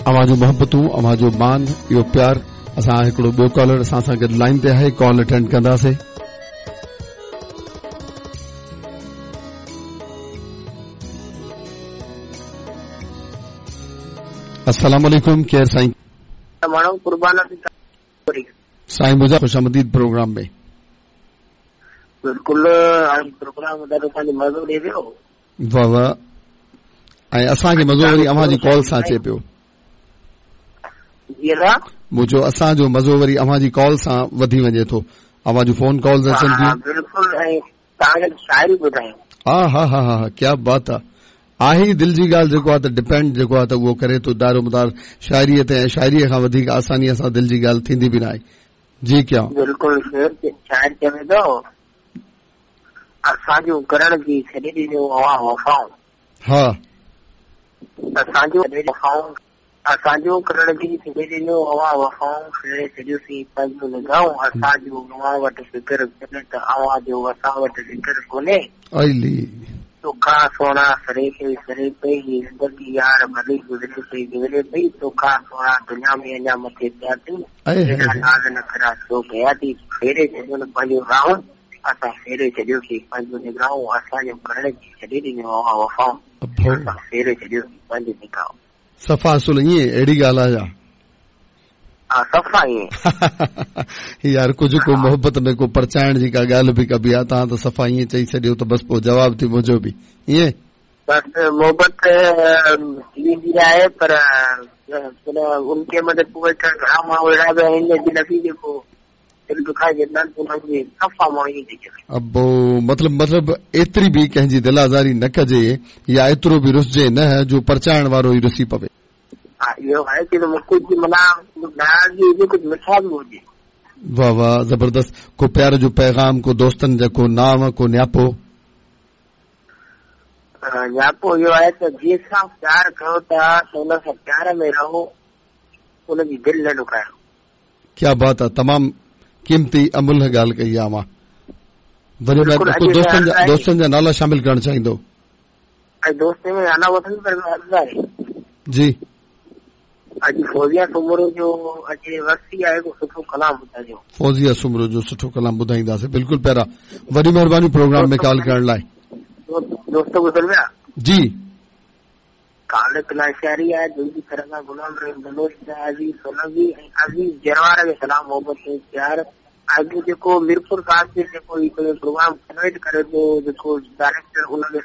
اوهان جون محبتون، اوهان جو مان، اهو پيار. اسان هڪڙو ٻيو ڪالر اسان سان گڏ لائين تي آهي، ڪال اٽينڊ ڪنداسين. السلام عليڪم ڪير سائين؟ ماڻهو قربان سائين منهنجا خوش آمديد پروگرام ۾. بلڪل پروگرام ڏاڍو پنهنجو مزو ڏي پيو. واه واه ۽ اسان کي مزو وري اوهان جي ڪال سان اچي پيو. جي ادا. مون چيو اسان جو مزو وري اوهان جي ڪال سان وڌي وڃي ٿو. اوهان جون فون ڪالز اچن ٿيون. ها بلڪل ۽ توهان کي شاعري ٻڌايون. ها ها ها ها ڪيا بات آ. آهي ئي دل جي ڳالهه جيڪو آ ته ڊپينڊ جيڪو آ ته اهو ڪري ٿو دارومدار شاعريء تي ۽ شاعريء کان وڌيڪ آسانيء سان دل جي ڳالهه ٿيندي به ناهي. جي ڪيا. بلڪل شعر شاعر چوي ٿو اسان جون ڪرڻ جي ڇڏي ڏنيون اوهان وفائون. ها. اسان جون وفائون اسان جون ڪرڻ جي ڇڏي ڏنيون اوهان وفائون ڦيري ڇڏيوسين پنهنجون نگاهون اسان جو اوهان وٽ فڪر ڪونهي ته اوهان جو اسان وٽ ذڪر ڪونهي. ائي. توکان سهڻا سري پئي سري پئي هي زندگي يار ڀلي گذري پئي گذري پئي توکان سهڻا دنيا ۾ اڃا مٿي پيا ٿيون ايڏا ناز نخرا ڇو ڪيا ٿي ڦيري ڇڏيو نه پنهنجون راهون اسان ڦيري ڇڏيوسين پنهنجون نگاهون اسان جون ڪرڻ جي ڇڏي ڏنيون اوهان وفائون اسان ڦيري ڇڏيوسين پنهنجون نگاهون. صفا اصل ائين اهڙي ڳالهه آهي ڇا؟ ها صفا ائين. يار ڪجهه ڪو محبت ۾ ڪو پرچائڻ جي ڪا ڳالهه به ڪبي آهي توهان ته صفا ائين چئي ڇڏيو ته بس پوء جواب ٿي منهنجو به ائين. بس محبت ٿي ويندي آهي پر ان کي مطلب پوء گهڻا ماڻهو اهڙا به آهن جن کي جيڪو دل دکائي ڇڏيندا آهن انهن جي صفا ماڻهو ائين ٿي چوي. ابو مطلب مطلب ايتري به ڪنهن جي دل آزاري نه ڪجي يا ايترو به رسجي نه جو پرچائڻ وارو ئي رسي پوي. ها اهو آهي ڪي ڪجهه معنيٰ ناراضگي هجي ڪجهه مٺاس به هجي. واه واه زبردست ڪو پيار جو پيغام ڪو دوستن جا ڪو نانء ڪو نياپو. نياپو اهو آهي ته جنهن سان پيار ڪيو ٿا ته ان سان پيار ۾ رهو ان جي دل نه ڏکايو. ڪيا بات آ تمام قيمتي املهه ڳالهه ڪئي آ اوهان وري ڪو دوستن جا دوستن جا نالا شامل ڪرڻ چاهيندو. اڄ دوستن ۾ نالا وٺن پر عرض آهي. جي. اڄ فوزيا سومرو جو اڄ ورسي آهي ڪو سٺو ڪلام ٻڌائجو. فوزيا سومرو جو سٺو ڪلام ٻڌائينداسين بلڪل پيارا وڏي مهرباني پروگرام ۾ ڪال ڪرڻ لاء. دوست گذر ويا. جي. خالق لاشاري آهي دل جي طرف کان غلام رحيم بلوچ عزيز سولنگي ۽ عزيز جروار کي سلام محبت ۽ پيار اڄ جيڪو ميرپور خاص ۾ جيڪو هي پروگرام ڪنويٽ ڪري ٿو جيڪو ڊائريڪٽر ان کي.